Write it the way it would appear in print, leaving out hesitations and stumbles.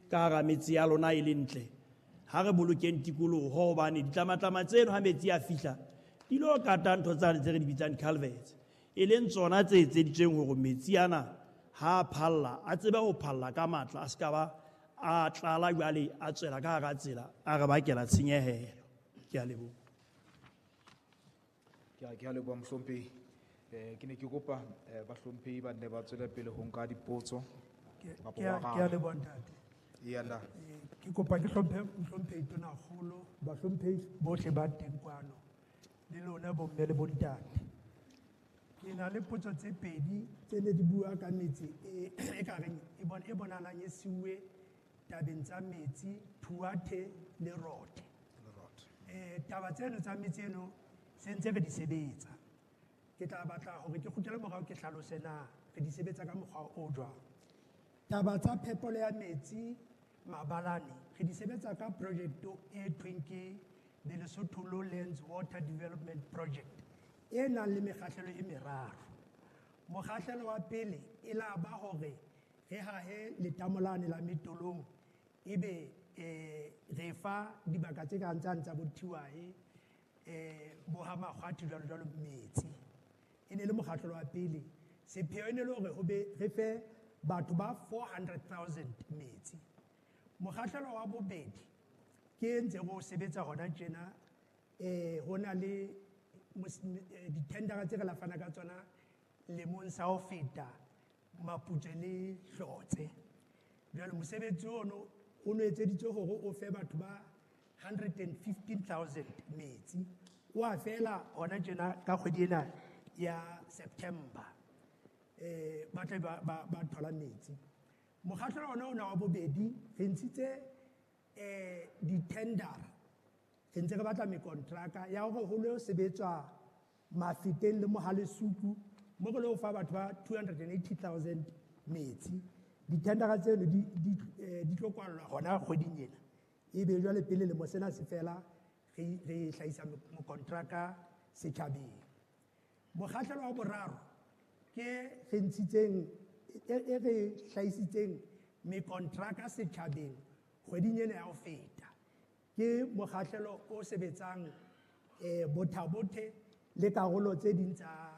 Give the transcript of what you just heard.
ka hara metse ya lona e le ntle. Ha re bolokeng tikoloho, hobane ditlamatlama tseno ha metsi a fihla di lo kata ntho tsane tse re di bitsang culverts, e leng tsona tse etseditsweng hore metsi ana ha a phalla a tsebe ho phalla ka matla, a se ka ba a tlala jwale a tswela ka hara tsela a re bakela tshenyehelo. Ke a leboha. Ke a leboha, mohlomphehi. Ke ne ke kopa bahlomphehi ba nne ba tswele pele ho nka dipotso kapa ho Ke a araba. leboha, ntate. Eya, nna. Ke kopa ke hlomphe mohlomphehi Tonakgolo, bahlomphehi bohle ba teng kwano le lona bomme le bontate. Ke na le potso tse pedi tse ne di bua ka metse e ka reng e bonahalang e siuwe tabeng tsa metsi, Thuathe le Rothe. Taba tseno tsa metse eno se ntse re di sebetsa. Ke tla batla hore ke kgutlele morao ke hlalose na re di sebetsa ka mokgwa o jwang. Taba tsa phepelo ya metsi mabalane re di sebetsa ka project e thweng ke the Lesotho Lowlands Water Development Project e nang le mekgahlelo e meraro. Mokgahlelo wa pele e la ba hore re hahe letamo lane la Metolong, ebe re fa dibaka tse kang tsane tsa bo Thiwae, bo ha Makgwathi jwalo jwalo metsi. E ne le mokgahlelo wa pele. Sepheo e ne le hore ho be re fe batho ba 400,000 metsi. Mokgahlelo wa bobedi ke ntse re o sebetsa hona tjena, ho na le dithendara tse re la fana ka tsona lemong sa ho feta Maputswe le Hlotse. Jwale mosebetsi ono o no etseditswe hore o fe batho ba 115,000 metsi. O a fela hona tjena ka kgwedi ena ya September. Ba tla ba thola metsi. Mokgahlelo ona ona wa bobedi re ntshitse di-tender, re ntse re batla mekontraka ya hore ho lo sebetswa Mafeteng le Mohalesuku mo re lo fa batho ba 280,000 metsi. Dithendera tseno di tlo kwallwa hona kgweding ena, ebe jwale pele lemo sena se fela re hlahisa mokontraka setjhabeng. Mokgahlelo wa boraro ke re ntshitseng e re hlahisitseng mekontraka setjhabeng kgweding ena ya ho feta, ke mokgahlelo o sebetsang Botha-Bothe le karolo tse ding tsa